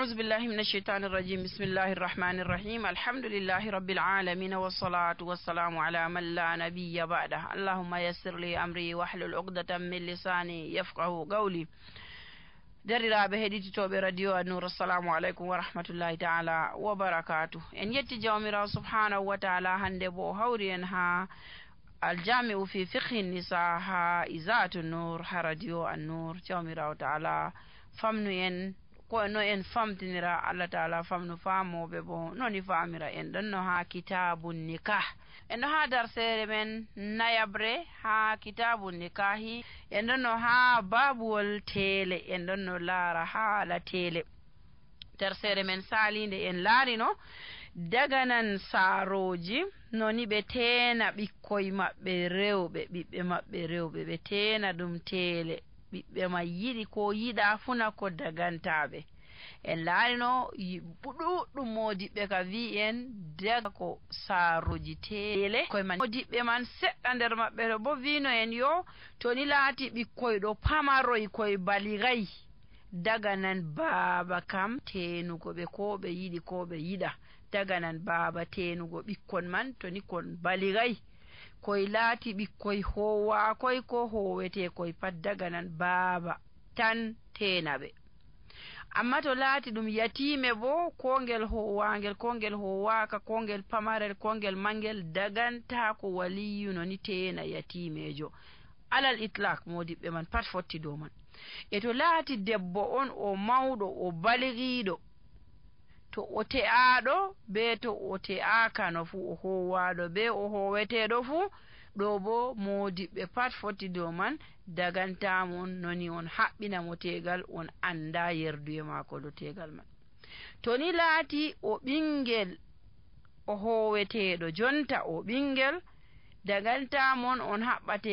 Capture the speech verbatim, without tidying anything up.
أعوذ بالله من الشيطان الرجيم بسم الله الرحمن الرحيم الحمد لله رب العالمين والصلاة والسلام على من لا نبي بعده اللهم يسر لي أمري واحلل عقدة من لساني يفقه قولي derdiraaɓe heɗititooɓe radio An-Nur assalamu aleykum wa rahmatullahi taala wa barakatuh en yetti jawmirawo subhanahu wa taala hande bo o hawri en ha aljami'u fi fiqhi nisa ha izatu nur ha radio An-Nur jawmirawo taala famnu en ko no en famtinira Allah taala famnu faamoɓe bo noni faamira en ɗon no ha kitabun nikah en ɗo ha darsere men nayabre ha kitabun nikahi en ɗon no ha babuwol tele en ɗon no laara haala tele darsere men salinde en laarino daganan saaroji noni ɓe teena ɓikkoye maɓɓe rewɓe ɓiɓɓe maɓɓe rewɓe ɓe teena ɗum tele ɓiɓɓe ma yiɗi ko yiɗa funa ko dagantaɓe en laarino ɗuɗɗum modiɓɓe ka wi en daga ko saaroji tele koye man modiɓɓe man seɗɗa nder maɓɓe to bo wino en yo to ni laati ɓikkoye ɗo pamaroy koye baligayi daga nan baaba kam tenugo ɓe ko ɓe yiɗi ko ɓe yiɗa daga nan baaba tenugo ɓikkon man to ni kon baligayi koye laati ɓikkoye howa koye ko howete koye pat daga nan baaba tan tenaɓe amma to laati ɗum yatime bo ko ngel howangel ko ngel howaka ko ngel pamarel ko ngel mangel daganta ko waliyuno ni tena yatimejo alal itlaq modiɓɓe man pat fotti dow man e to laati debbo on o mawɗo o baligiɗo to o te'aɗo be to o te'akano fu o howaɗo be o howeteɗo fu ɗo bo modiɓɓe pat foti dow man dagantamon noni on haɓɓinamo tegal on anda yerduye mako do tegal man to ni laati o ɓingel o howeteɗo jonta o ɓingel dagantamon on haɓɓate